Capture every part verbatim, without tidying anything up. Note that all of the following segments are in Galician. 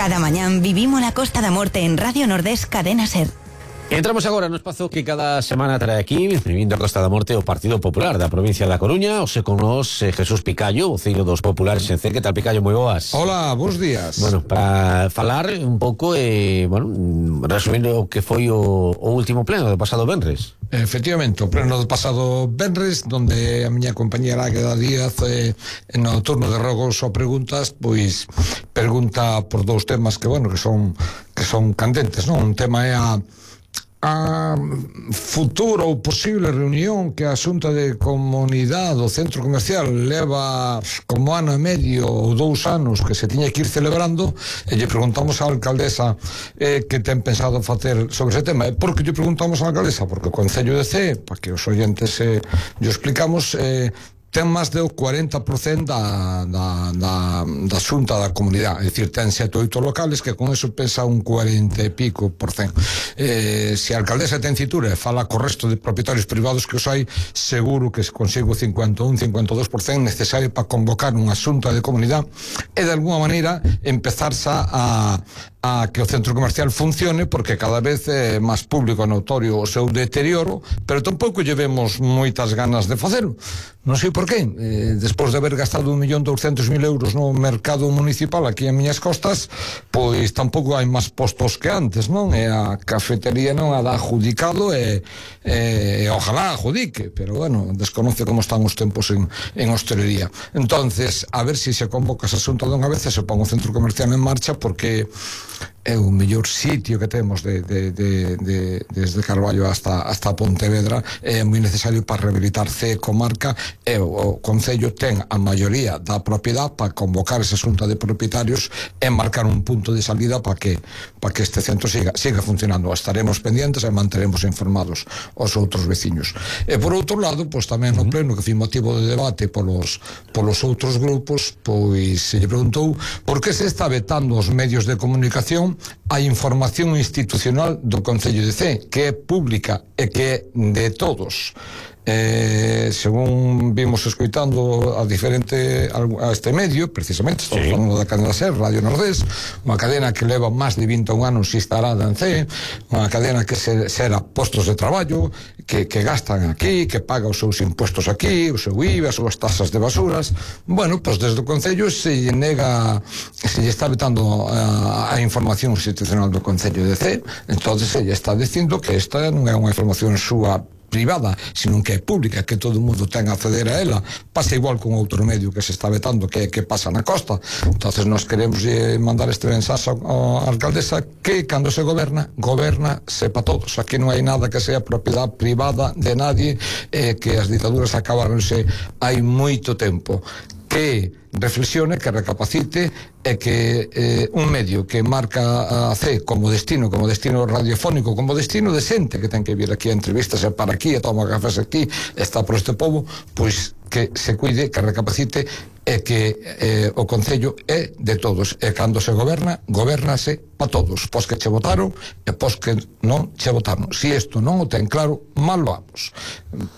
Cada mañán vivimos la Costa da Morte en Radio Nordés Cadena Ser. Entramos agora no espazo que cada semana trae aquí, vivindo a Costa da Morte, o Partido Popular da provincia da Coruña. Ose con nos eh, Jesús Picallo, voceiro dos populares en C. Que tal, Picallo? Moi boas. Hola, bons días. Bueno, para falar un pouco, eh, bueno, resumindo o que foi o, o último pleno do pasado venres. Efectivamente, o pleno do pasado venres, donde a miña compañera Águeda Díaz, eh, no turno de rogos ou preguntas, pois pregunta por dous temas que, bueno, que son que son candentes, non? Un tema é a a futura ou posible reunión que a Xunta de Comunidade do Centro Comercial leva como ano e medio ou dous anos que se tiña que ir celebrando, e lle preguntamos á alcaldesa eh, que ten pensado facer sobre ese tema. E por que lle preguntamos á alcaldesa? Porque o Concello de C, para que os oyentes eh, lle explicamos, eh, ten máis do cuarenta por cento da, da, da, da Xunta da Comunidade, é dicir, ten sete ou oito locales, que con eso pesa un cuarenta e pico por cento. Eh, se a alcaldesa ten cintura e fala co resto de propietarios privados que os hai, seguro que se consigo cincuenta e un, cincuenta e dous por cento necesario para convocar unha Xunta de Comunidade e de alguna maneira empezarse a a que o centro comercial funcione, porque cada vez é máis público e notorio o seu deterioro, pero tampouco llevemos moitas ganas de facelo. Non sei por qué. Eh, despois de haber gastado un millón douscentos mil euros no mercado municipal aquí en miñas costas, pois tampouco hai máis postos que antes, non? E a cafetería non a dá adjudicado e, e, e ojalá adjudique, pero bueno, desconoce como están os tempos en, en hostelería. Entonces, a ver se si se convoca esa xunta dunha vez e se pon o centro comercial en marcha, porque é o mellor sitio que temos de, de, de, de, desde Carballo hasta, hasta Pontevedra. É moi necesario para rehabilitar C comarca, e o, o Concello ten a maioría da propiedade para convocar esa xunta de propietarios e marcar un punto de salida para que, para que este centro siga, siga funcionando. Estaremos pendientes e manteremos informados os outros veciños. E por outro lado, pois tamén no pleno, que foi motivo de debate polos, polos outros grupos, pois se lle preguntou por que se está vetando os medios de comunicación a información institucional do Concello de C, que é pública e que é de todos. Eh, según vimos escoitando a diferente a este medio, precisamente estamos sí. falando da cadena SER, Radio Nordés, unha cadena que leva máis de vinte e un anos instalada en C, unha cadena que se, será postos de traballo, que, que gastan aquí, que paga os seus impuestos aquí, o seu I V A, as súas tasas de basuras. Bueno, pois desde o Concello se lle nega, se lle está vetando a, a información institucional do Concello de C. Entonces se lle está dicindo que esta non é unha información súa privada, sino que é pública, que todo o mundo ten a acceder a ela. Pasa igual con outro medio que se está vetando, que, que pasa na costa. Entonces nós queremos eh, mandar este mensaxe á alcaldesa que cando se goberna, goberna se pa todos. Aquí non hai nada que sea propiedade privada de nadie, eh, que as ditaduras acabaronse hai moito tempo. Que reflexione, que recapacite, e que eh, un medio que marca a C como destino, como destino radiofónico, como destino decente, que ten que vir aquí a entrevistas e para aquí, e toma cafés aquí, está por este pobo, pois que se cuide, que recapacite, e que eh, o Concello é de todos, e cando se goberna, gobernase pa todos, pos que che votaron e pos que non che votaron. Si isto non o ten claro, mal vamos.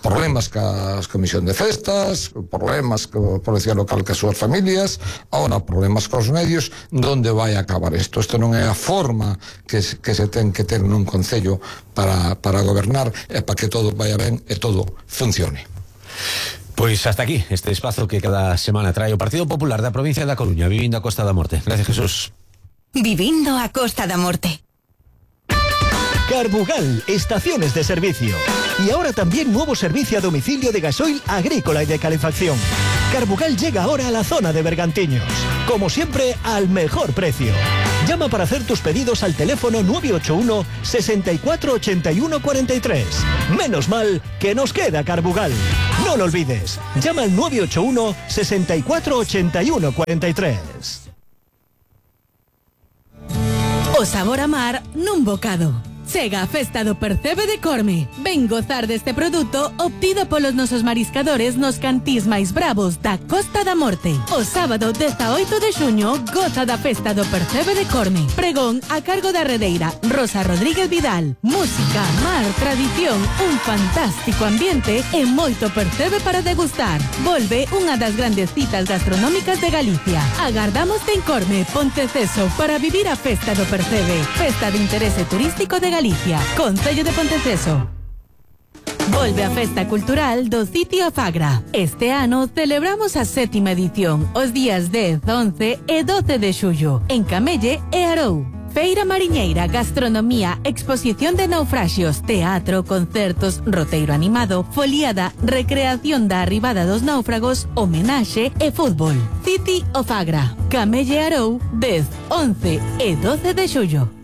Problemas ca comisión de festas, problemas co policía local ca súas familias, ahora problemas cos medios. Donde vai a acabar isto? Isto non é a forma que, que se ten que ter nun Concello para, para gobernar e para que todo vaya ben e todo funcione. Pois hasta aquí este espazo que cada semana trae o Partido Popular da provincia da Coruña, vivindo a Costa da Morte. Gracias, Jesús. Vivindo a Costa da Morte. Carbugal, estaciones de servicio. Y ahora también nuevo servicio a domicilio de gasoil agrícola y de calefacción. Carbugal llega ahora a la zona de Bergantiños. Como siempre, al mejor precio. Llama para hacer tus pedidos al teléfono nueve ocho uno, sesenta y cuatro, ochenta y uno, cuarenta y tres. Menos mal que nos queda Carbugal. No lo olvides. Llama al nueve ocho uno, sesenta y cuatro, ochenta y uno, cuarenta y tres. O sabor a mar nun bocado. Chega a festa do Percebe de Corme. Ven gozar deste produto obtido polos nosos mariscadores nos cantís máis bravos da Costa da Morte. O sábado dezaoito de xuño goza da festa do Percebe de Corme. Pregón a cargo da redeira Rosa Rodríguez Vidal. Música, mar, tradición, un fantástico ambiente e moito percebe para degustar. Volve unha das grandes citas gastronómicas de Galicia. Agardamos en Corme, Ponteceso, para vivir a festa do Percebe. Festa de interese turístico de Galicia. Concello de Ponteceso. Volve a festa cultural do Sitio Fagra. Este ano celebramos a sétima edición, os días dez, once e doce de xullo, en Camelle e Arou. Feira mariñeira, gastronomía, exposición de naufraxios, teatro, concertos, roteiro animado, foliada, recreación da arribada dos náufragos, homenaxe e fútbol. City o Fagra, Camelle Arou, dez, once e doce de xullo.